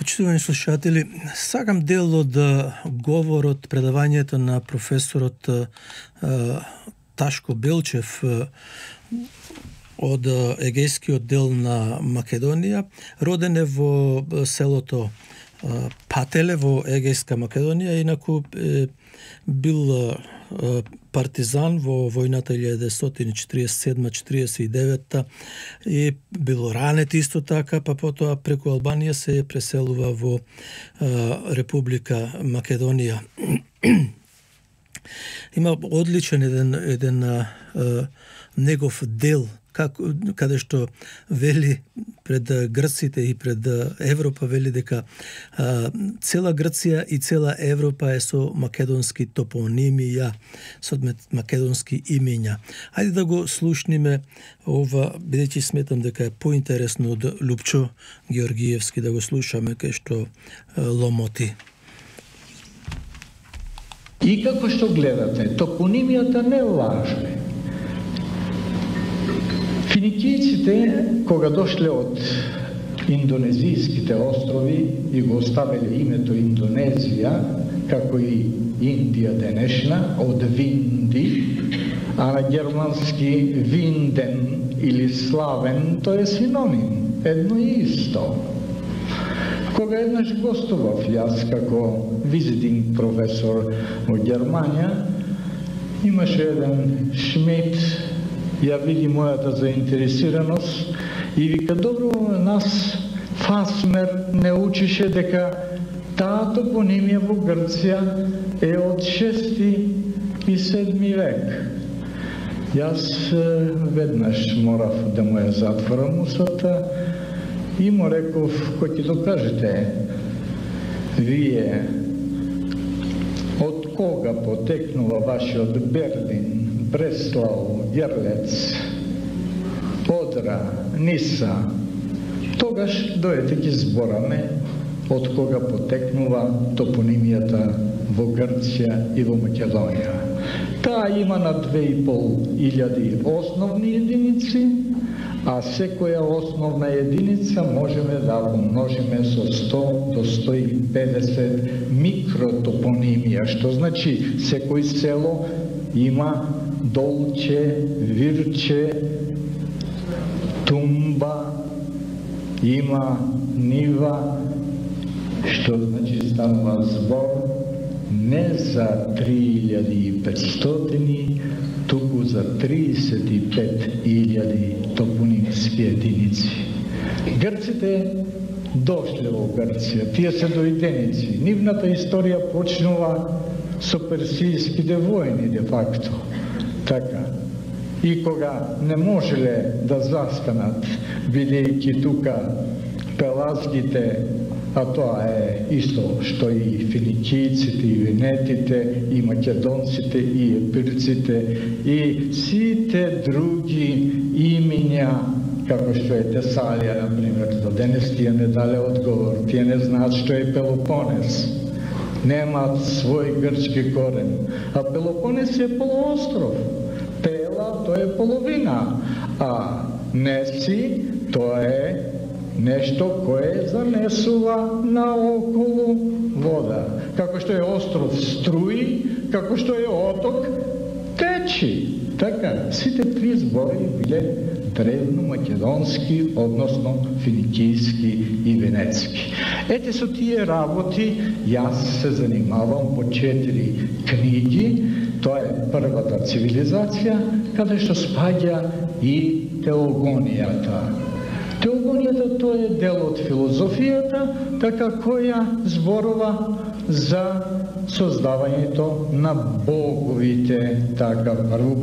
Почитувани слушатели, сакам дел од говорот, предавањето на професорот Ташко Белчев од Егејскиот дел на Македонија. Роден е во селото Пателе во Егејска Македонија, инаку бил партизан во војната 1947-49 и бил ранет исто така, па потоа преку Албанија се преселува во Република Македонија. Има одличен еден негов дел каде што вели пред грците и пред Европа, вели дека цела Грција и цела Европа е со македонски топонимија, со македонски имења. Ајде да го слушниме ова, бидејќи сметам дека е поинтересно од Лупчо Георгиевски, да го слушаме кај што ломоти. И како што гледате, топонимијата не лаже. Финикијците, кога дошле од индонезијските острови и го оставиле името Индонезија, како и Индија денешна, од Винди, а на германски Винден или Славен, тоа е синоним, едно и исто. Кога еднаш гостував јас како визитинг професор во Германија, имаше еден Шмид, ја види мојата заинтересираност и вика, добро, нас Фасмер не учише дека таа топонимија во Грција е од 6 и 7 век. Јас веднаш морав да му ја затворам усата и му реков, кој ќе докажете вие од кога потекнува вашиот Берлин, Бреслау, Јерлец, Одра, Ниса, тогаш дојдете ги збораме од кога потекнува топонимијата во Грција и во Македонија. Таа има на 2500 основни единици, а секоја основна единица можеме да помножиме со 100 до 150 микротопонимија, што значи секој село има Долче, Вирче, Тумба, има Нива, што значи станува збор не за 3500, туку за 35.000 топонимски единици. Грците дошле во Грција, тие се дојденици. Нивната историја почнува со персијските војни, де факто. Така. И кога не можеле да застанат, бидејќи тука пелазгите, а тоа е исто што и финикијците, и венетите, и македонците, и епирците, и сите други имиња, како што е Тесалија, например, до денес тие не дале одговор, тие не знаат што е Пелопонес. Немаат свој грчки корен. А Пелопонес е полуостров. Пела, тоа е половина. А Неси, тоа е нешто кое занесува наоколу вода. Како што е остров струи, како што е оток течи. Така, сите три збори биле древно-македонски, односно финикијски и венецки. Ете со тие работи јас се занимавам по 4 книги. Тоа е првата цивилизација, каде што спаѓа и теогонијата. Теогонијата тоа е дел од филозофијата, така која зборува за создавањето на боговите. Така, прво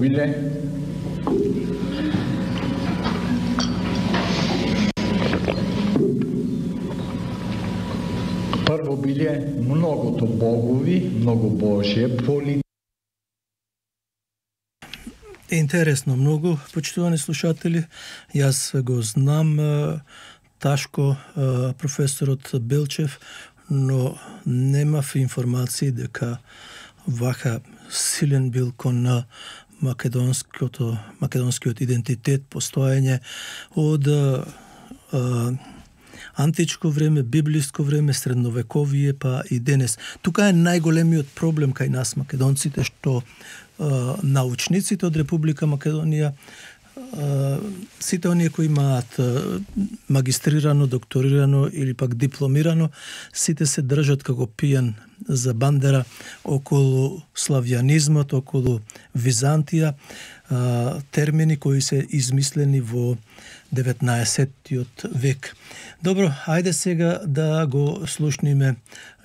биле многото богови, многу Божје Интересно многу, почитувани слушатели. Јас го знам Ташко, професорот Белчев, но немав информации дека вака силен бил кон македонскиот идентитет, постоење од античко време, библиско време, средновековие, па и денес. Тука е најголемиот проблем кај нас македонците, што научниците од Република Македонија, сите оние кои имаат магистрирано, докторирано или пак дипломирано, сите се држат како пијан за бандера околу славјанизмот, околу Византија, термини кои се измислени во 19-тиот век. Добро, ајде сега да го слушниме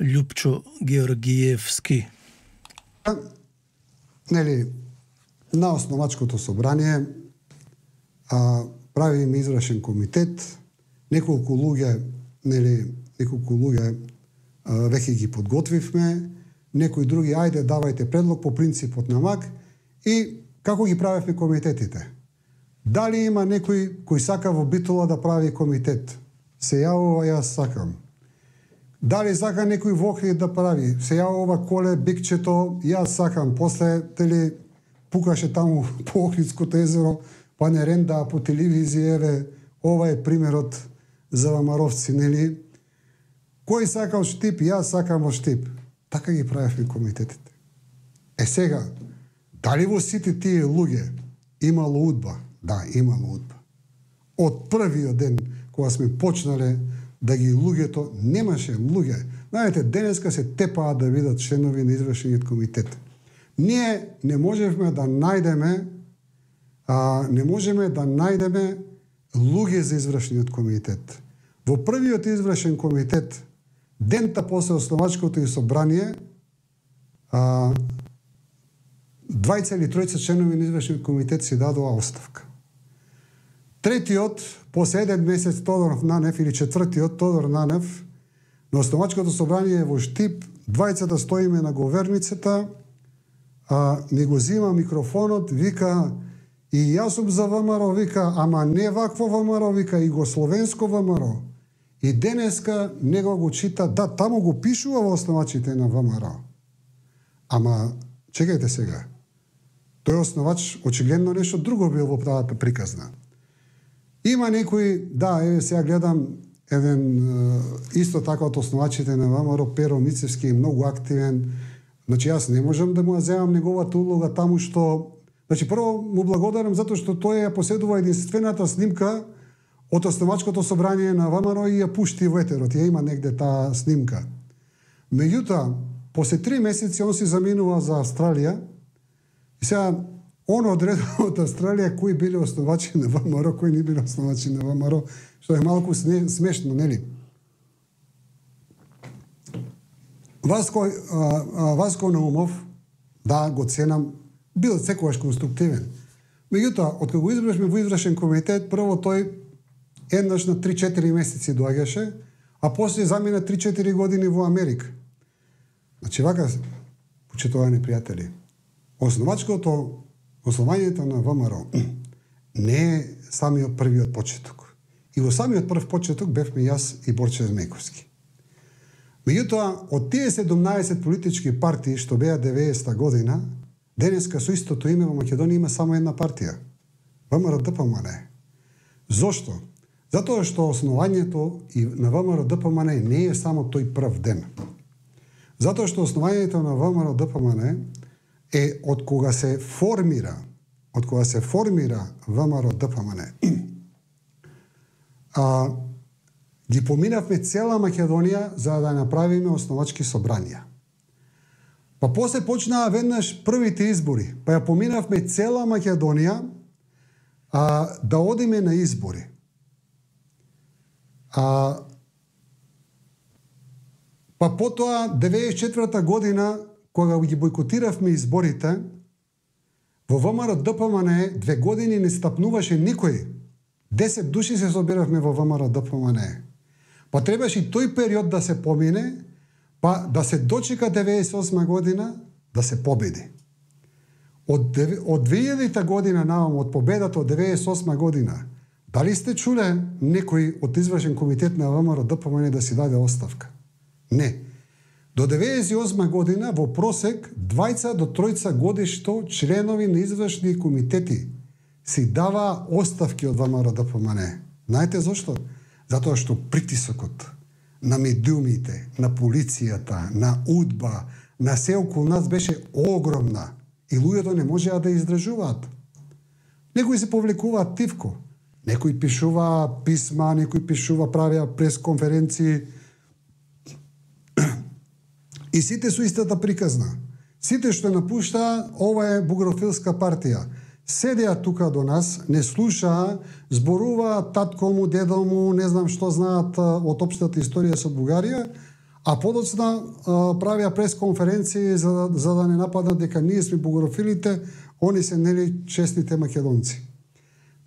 Љупчо Георгиевски. Нели, на основачкото собрание правиме извршен комитет, неколку луѓе веќе ги подготвивме, некои други, ајде давајте предлог по принципот на МАК и како ги правевме комитетите. Дали има некој кој сака во Битола да прави комитет? Се јавува, јас сакам. Дали сака некој во Охрид да прави? Се јавува Коле Бикчето, јас сакам. После пукаше таму по Охридското езеро, па не ренда по телевизија, еве, ова е примерот за вамаровци, нели? Кој сака од Штип? Јас сакам од Штип. Така ги правевме комитетите. Сега, дали во сите тие луѓе имало удба? Да, имало удба. Од првиот ден, кога сме почнале да ги луѓето, немаше луѓе. Знаете, денеска се тепаат да видат членови на извршениот комитет. Ние не можеме да најдеме луѓе за извршениот комитет. Во првиот извршен комитет, дента после основачкото и собрание, 2 или 3 членови на извршениот комитет си дадоа оставка. Третиот, по 7 месец, Тодор Нанев, или четвртиот, Тодор Нанев, на основачкото собрание во Штип, 2 стоиме на говерницата, ми го зима микрофонот, вика, и јас сум за ВМРО, вика, ама не вакво ВМРО, вика, и го словенско ВМРО. И денеска него го чита, да, таму го пишува во основачите на ВМРО. Ама, чекајте сега, тој основач очигледно нешто друго бил во таа приказна. Има некои, да, еве сега гледам еден исто така од основачите на ВМРО, Перо Мицевски, многу активен. Значи јас не можам да му ја земам неговата улога таму што, значи прво му благодарам затоа што тој ја поседува единствената снимка од основачкото собрание на ВМРО и ја пушти во етерот. Ја има негде таа снимка. Меѓутоа, после 3 месеци он си заминува за Австралија и сега он одредува од Австралија кои биле основачи на ВМРО, кои не биле основачи на ВМРО, што е малку смешно, нели? Васко Наумов, да, го ценам, бил секогаш конструктивен. Меѓутоа, откако го избрашме во извршен комитет, прво тој еднаш на 3-4 месеци доаѓаше, а после замина 3-4 години во Америка. Значи, вака, почитувани пријатели, основањето на ВМРО не е самиот првиот почеток. И во самиот прв почеток бевме јас и Борче Змејковски. Меѓутоа, од тие 17 политички партии што беа 90-та година, денеска со истото име во Македонија има само една партија. ВМРО-ДПМН. Зошто? Затоа што основањето и на ВМРО-ДПМН не е само тој прв ден. Затоа што основањето на ВМРО-ДПМН е од кога се формира ВМРО-ДПМН. Ги поминавме цела Македонија за да направиме основачки собранија. Па после почнаа веднаш првите избори, па ја поминавме цела Македонија да одиме на избори. Па потоа 94-та година, кога ги бойкотиравме изборите, во ВМРО-ДПМН 2 години не стапнуваше никој. 10 души се собиравме во ВМРО-ДПМН. Па требаше и тој период да се помине, па да се дочека 98 година да се победи. Од 2000 година навам, од победата од 98 година, дали сте чуле некој од извршен комитет на ВМРО-ДПМН да си даде оставка? Не. До 98 година во просек 2 до 3 годишно членови на извршни комитети си дава оставки од ВМРО-ДПМН. Знаете зошто? Затоа што притисокот на медиумите, на полицијата, на УДБА, на се околу нас беше огромна и луѓето не можеа да издржуваат. Некои се повлекуваат тивко, некои пишува писма, некои пишува правеа пресконференции и сите со истата приказна. Сите што напуштаа, ова е бугрофилска партија. Седеа тука до нас, не слушаа, зборуваат татко му, дедо му, не знам што знаат од општата историја со Бугарија, а подоцна правеа пресконференции за да не нападнат дека ние сме бугрофилите, они се нели честните македонци.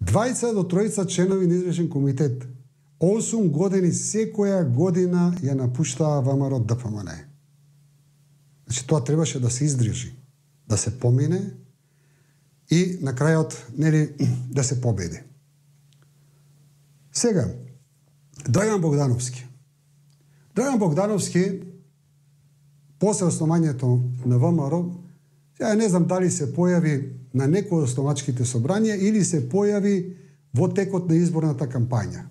20 до 3 членови на извршен комитет, 8 години секоја година ја напуштаа ВМРО ДПМН. Значи тоа требаше да се издржи, да се помине и на крајот нели да се победи. Сега Драган Богдановски. Драган Богдановски после основањето на ВМРО, ја не знам дали се појави на некој од основачките собрања или се појави во текот на изборната кампања.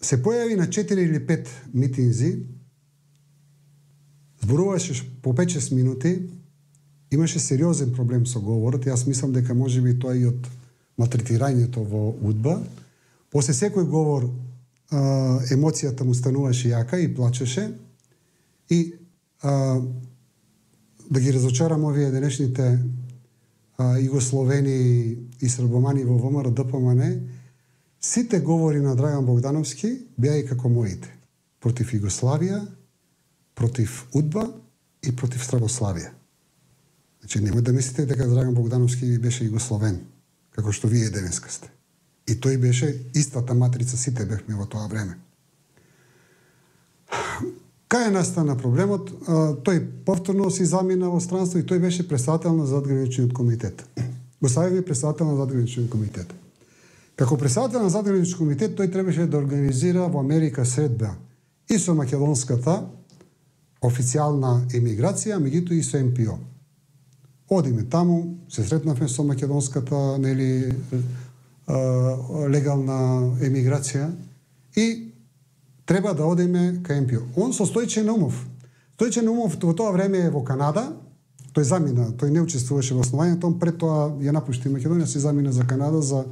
Се појави на 4 или 5 митинзи, зборуваше по 5-6 минути, имаше сериозен проблем со говорот. Јас мислам дека можеби тоа и од малтретирањето во УДБА. После секој говор емоцијата му стануваше јака и плачеше. И да ги разочарам овие денешните југословени и србомани во ВМРО ДПМН, сите говори на Драган Богдановски беа и како моите. Против Југославија, против УДБА и против Србославија. Значи, немој да мислите дека Драган Богдановски беше југословен, како што вие денеска сте. И тој беше истата матрица, сите бевме во тоа време. Кај настана проблемот? Тој повторно си замина во странство и тој беше председател на задграничниот комитет. Го стави председател на задграничниот комитет. Како председател на задграничниот комитет, тој требаше да организира во Америка средба и со македонската официјална емиграција, меѓутоа и со МПО. Одиме таму, се сретнавме со македонската легална емиграција и треба да одиме кај МПО. Он со Стојче Наумов. Стојче Наумов во тоа време е во Канада, тој замина, тој не учествуваше во основањето, он пред тоа ја напушти Македонија, се замина за Канада за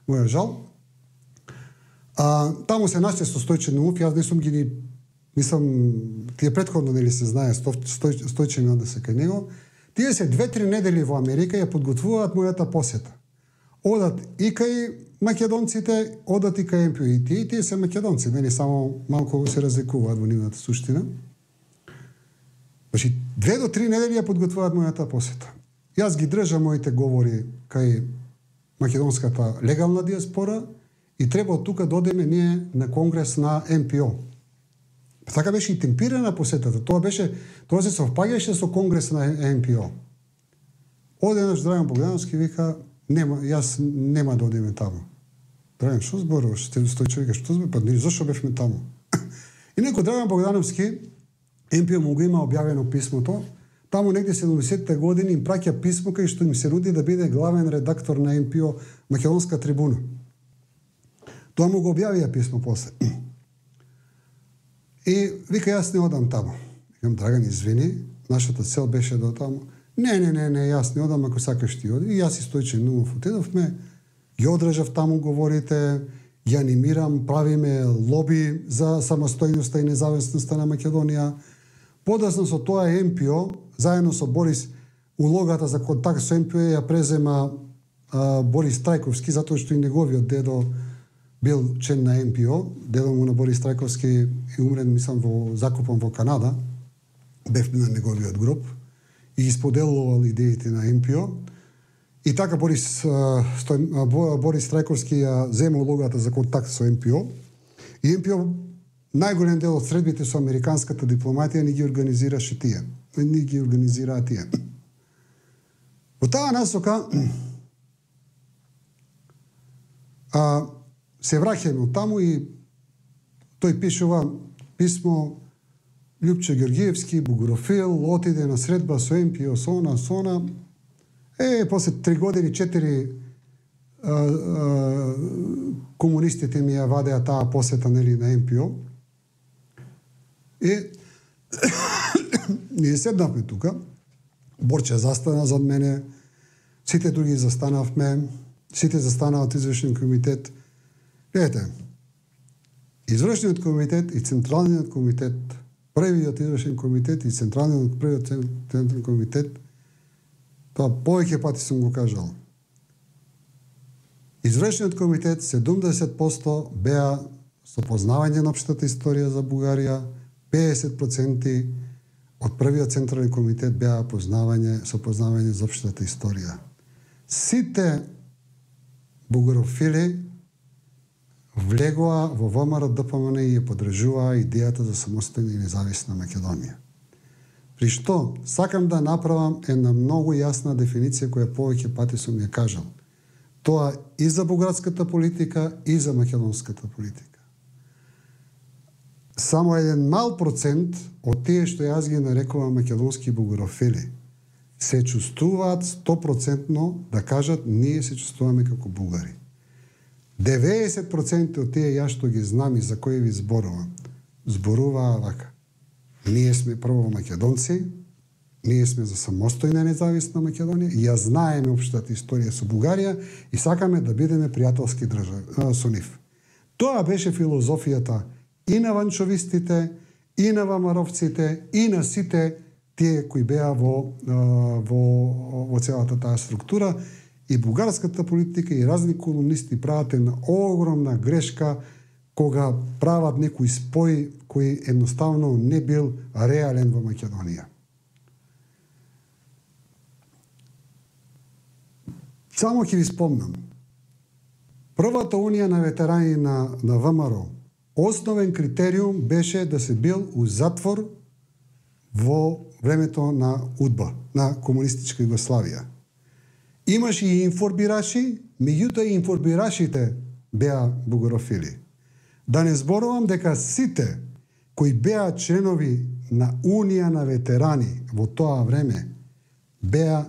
моја жал. Таму се наште со Стојче Наумов, јас не сум ги мислам, тие претходно нели се знае, Стојче ми однесе кај него. Тие се 2-3 недели во Америка ја подготвуваат мојата посета. Одат и кај македонците, одат и кај МПО. И тие се македонци, нели само малку се разликуваат во нивната суштина. Значи, 2 до 3 недели ја подготвуваат мојата посета. Јас ги држам моите говори кај македонската легална диаспора и треба од тука да одеме ние на конгрес на МПО. Така беше и темпирана посетата. Тоа се совпаѓаше со конгрес на МПО. Одеднаш Драган Богдановски вика, јас нема да одиме таму. Драган, што зборуваш? Стојче вика, што зборуваш? Па зашо бевме таму? И некој Драган Богдановски, МПО му го има објавено писмото, таму негде 70-те години им праќа писмо кај што им се нуди да биде главен редактор на МПО Македонска трибуна. Тоа му го објавија писмо после. И вика, јас не одам таму. Викам, Драган, извини, нашата цел беше да таму. Не, јас не одам, ако сакаш ти оди. И јас и Стојче Наумов отидовме, ги одржав таму говорите, ги анимирам, правиме лоби за самостојноста и независноста на Македонија. Подоцна со тоа МПО, заедно со Борис, улогата за контакт со МПО ја презема Борис Трајковски, затоа што и неговиот дедо бил член на МПО. Дедо му на Борис Трајковски е умрен, мислам, закопан во Канада. Бев на неговиот гроб и исподелувал идеите на МПО. И така Борис Трајковски ја зема улогата за контакт со МПО. И МПО најголем дел од средбите со американската дипломатија ни ги организираше тие. Ни ги организираа тие. Во таа насока се враќаме од таму и тој пишува писмо Љупче Георгиевски, бугрофил, отиде на средба со МПО, со она. После 3 години, 4 комунистите ми ја вадеа таа посета, нели, на МПО. Ние седнавме тука, Борче застана зад мене, сите други застанавме, сите застанаа од извршен комитет. Гледате, извршниот комитет и централниот комитет, првиот извршен комитет и првиот централен комитет, тоа повеќе пати сум го кажал. Извршниот комитет 70% беа со познавање на општата историја за Бугарија, 50% од првиот централен комитет беа со познавање за општата историја. Сите бугарофили влегоа во ВМРО-ДПМН и ја подржуваа идејата за самостојна и независна Македонија. При што сакам да направам една многу јасна дефиниција која повеќе пати сум ја кажал. Тоа и за бугарската политика и за македонската политика. Само еден мал процент од тие што јас ги нарекувам македонски бугарофили се чувствуваат 100% да кажат ние се чувствуваме како бугари. 90% од тие јас што ги знам и за кои ви зборуваа вака. Ние сме прво македонци, ние сме за самостојна независна Македонија, и ја знаеме општата историја со Бугарија и сакаме да бидеме пријателски со нив. Тоа беше филозофијата и на ванчовистите, и на вамаровците, и на сите тие кои беа во целата таа структура. И бугарската политика и разни колумнисти прават една огромна грешка кога прават некој спој кој едноставно не бил реален во Македонија. Само ќе ви спомнам. Првата унија на ветерани на ВМРО, основен критериум беше да се бил у затвор во времето на УДБА, на комунистичка Југославија. Имаше и информираши, меѓутоа и информирашите беа бугарофили. Да не зборувам дека сите кои беа членови на Унија на ветерани во тоа време беа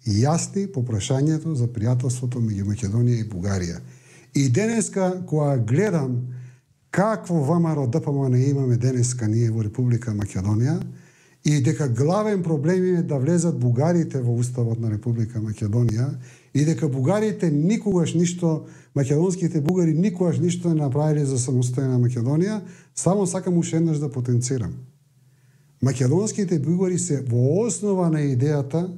јасни по прашањето за пријателството меѓу Македонија и Бугарија. И денеска, кога гледам какво ВМРО-ДПМН имаме денеска ние во Република Македонија, и дека главен проблем е да влезат бугарите во уставот на Република Македонија, и дека бугарите никогаш ништо, македонските бугари никогаш ништо не направиле за самостојна Македонија, само сакам уште еднаш да потенцирам. Македонските бугари се во основа на идејата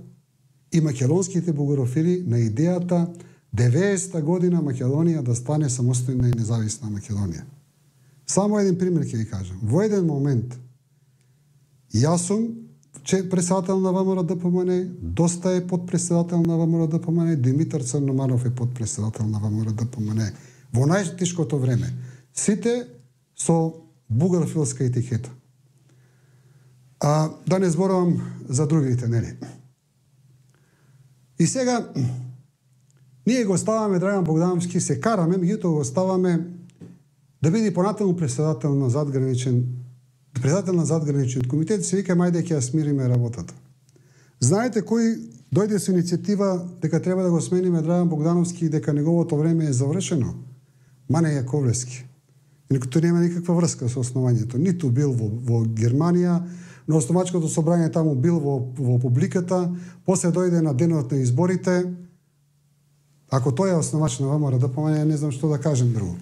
и македонските бугарофили на идејата 90-та година Македонија да стане самостојна и независна Македонија. Само еден пример ќе ви кажам. Во еден момент јас сум председател на ВМРО-ДПМН, Доста е подпредседател на ВМРО-ДПМН, Димитар Црноманов е подпредседател на ВМРО-ДПМН во најтешкото време. Сите со бугарофилска етикета. Да не зборувам за другите, нели? И сега ние го ставаме Драган Богдановски, се караме, меѓутоа го ставаме да биде понатаму председател на задграничен комитет, се вика мајде ќе ја смириме работата. Знаете кој дојде со иницијатива дека треба да го смениме Драган Богдановски и дека неговото време е завршено? Мане Јаковлевски. Тој нема никаква врска со основањето. Ниту бил во Германија, на основачкото собрање таму бил во публиката, после дојде на денот на изборите. Ако тој е основач на ВМРО-ДПМН, не знам што да кажем друго.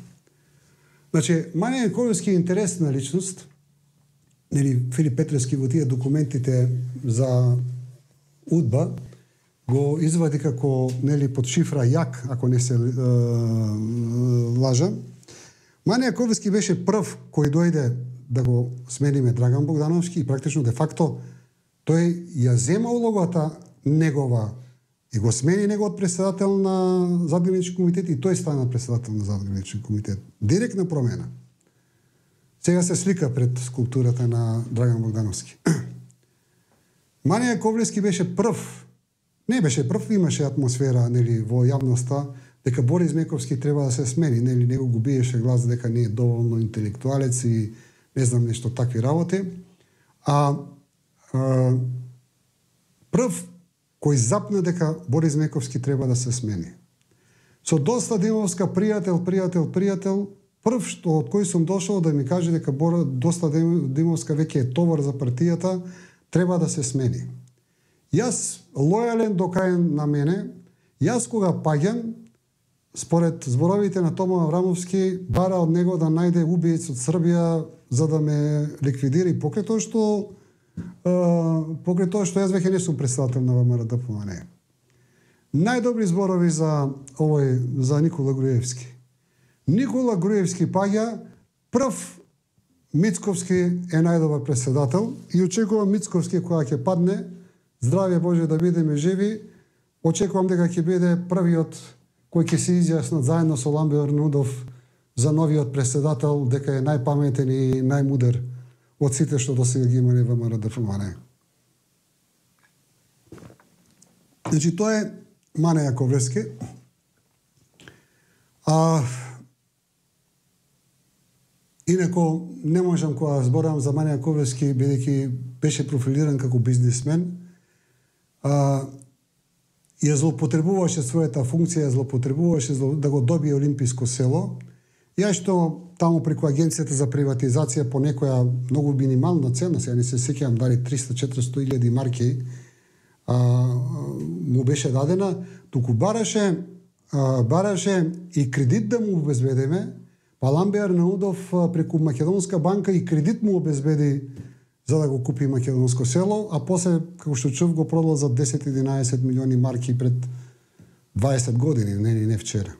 Значи, Мане Јаковлевски е интересна личност. Нели, Филип Петревски во тие документите за УДБА го извади како, нели, под шифра ЈАК, ако не се лажам. Мане Јаковлевски беше прв кој дојде да го смениме Драган Богдановски и практично де факто тој ја зема улогата негова и го смени неговот председател на задграничен комитет и тој стана председател на задграничен комитет. Директна промена. Сега се слика пред скулптурата на Драган Богдановски. Мане Јаковлевски беше прв. Не беше прв, имаше атмосфера, нели, во јавноста дека Борис Мековски треба да се смени, нели, него го биеше глас дека не е доволно интелектуалец и не знам нешто такви работи. Прв кој запна дека Борис Мековски треба да се смени. со доста Димовска пријател, прв што од кој сум дошол да ми каже дека доста Димовска веќе е товар за партијата, треба да се смени. Јас, лојален до крај на мене, јас кога паѓам, според зборовите на Тома Аврамовски, бара од него да најде убиец од Србија за да ме ликвидира и покрај тоа што јас веќе не сум председател на ВМРО-ДПМН. Најдобри зборови за Никола Груевски. Никола Груевски паѓа, прв Мицковски е најдобар председател и очекувам Мицковски кога ќе падне, здравје Боже да бидеме живи, очекувам дека ќе биде првиот кој ќе се изјаснат заедно со Ламбе Арнаудов за новиот председател, дека е најпаметен и најмудар од сите што досега ги имале во ВМРО-ДПМН. Значи, тоа е Мане Јаковлевски. Инако, не можам кога зборам за Мане Јаковлевски, бидејќи беше профилиран како бизнисмен, ја злоупотребуваше својата функција, злоупотребуваше да го добие Олимписко село. Ја што таму преку Агенцијата за приватизација по некоја многу минимална цена, сега не се сеќавам дали 300-400 илјади марки му беше дадена, туку бараше и кредит да му обезбедиме, па Ламбе Арнаудов преку Македонска банка и кредит му обезбеди за да го купи Македонско село, а после, како што чув, го продал за 10-11 милиони марки пред 20 години, не вчера.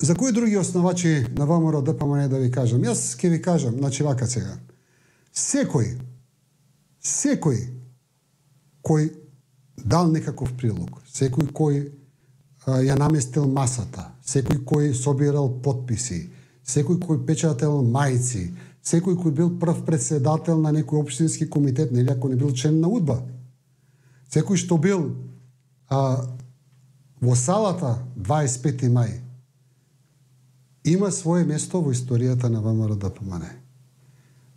За кои други основачи на ВМРО-ДПМН да ви кажам? Јас ќе ви кажам, значи вака сега. Секој кој дал некаков прилог, секој кој ја наместил масата, секој кој собирал подписи, секој кој печател мајци, секој кој бил прв председател на некој општински комитет, нели ако не бил член на УДБА, секој што бил во салата 25 мај, има свое место во историјата на ВМРО-ДПМН.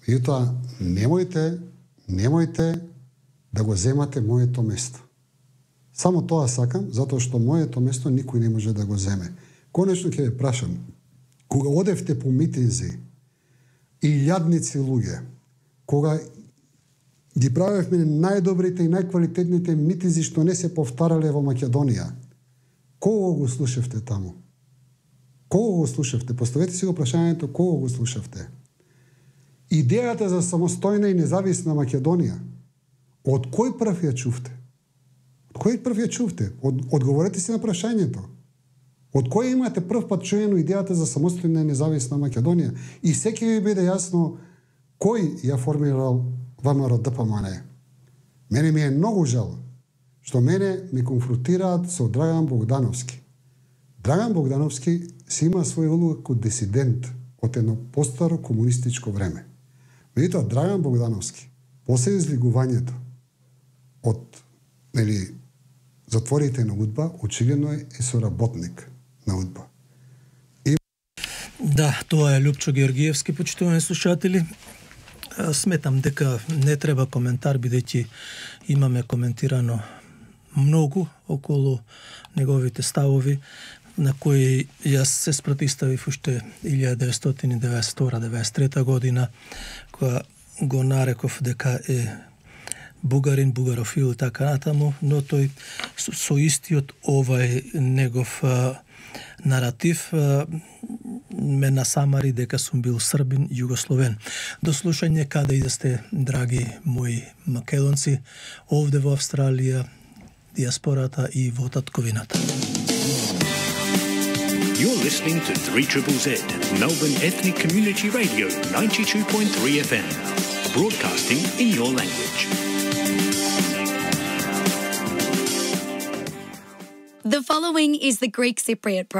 Меѓутоа, немојте да го земате моето место. Само тоа сакам, затоа што моето место никој не може да го земе. Конечно ќе ве прашам, кога одевте по митинзи, илјадници луѓе, кога ги правевме најдобрите и најквалитетните митинзи што не се повтарале во Македонија, кого го слушавте таму? Кого го слушавте? Поставете си го прашањето, кого го слушавте? Идејата за самостојна и независна Македонија, од кој прв ја чувте? Од кој прв ја чувте? Одговорете си на прашањето. Од кој имате прв пат чуено идејата за самостојна и независна Македонија? И секи ви биде јасно кој ја формирал ВМРО-ДПМН. Мене ми е многу жал што мене ми конфронтираат со Драган Богдановски. Драган Богдановски си има своја улога како дисидент од едно постаро комунистичко време. Меѓутоа, Драган Богдановски, после излигувањето од затворите на УДБА, очигледно е соработник на УДБА. Да, тоа е Лјупчо Георгиевски, почитувани слушатели. Сметам дека не треба коментар, бидејќи имаме коментирано многу околу неговите ставови, на кои јас се спротиставив уште 1992-93 година, кога го нареков дека е бугарин, бугарофил и така натаму, но тој со истиот овај негов наратив ме насамари дека сум бил србин, југословен. До слушање каде и да сте, драги мои македонци, овде во Австралија, диаспората и во татковината. You're listening to 3ZZZ, Melbourne Ethnic Community Radio, 92.3 FM, broadcasting in your language. The following is the Greek Cypriot program.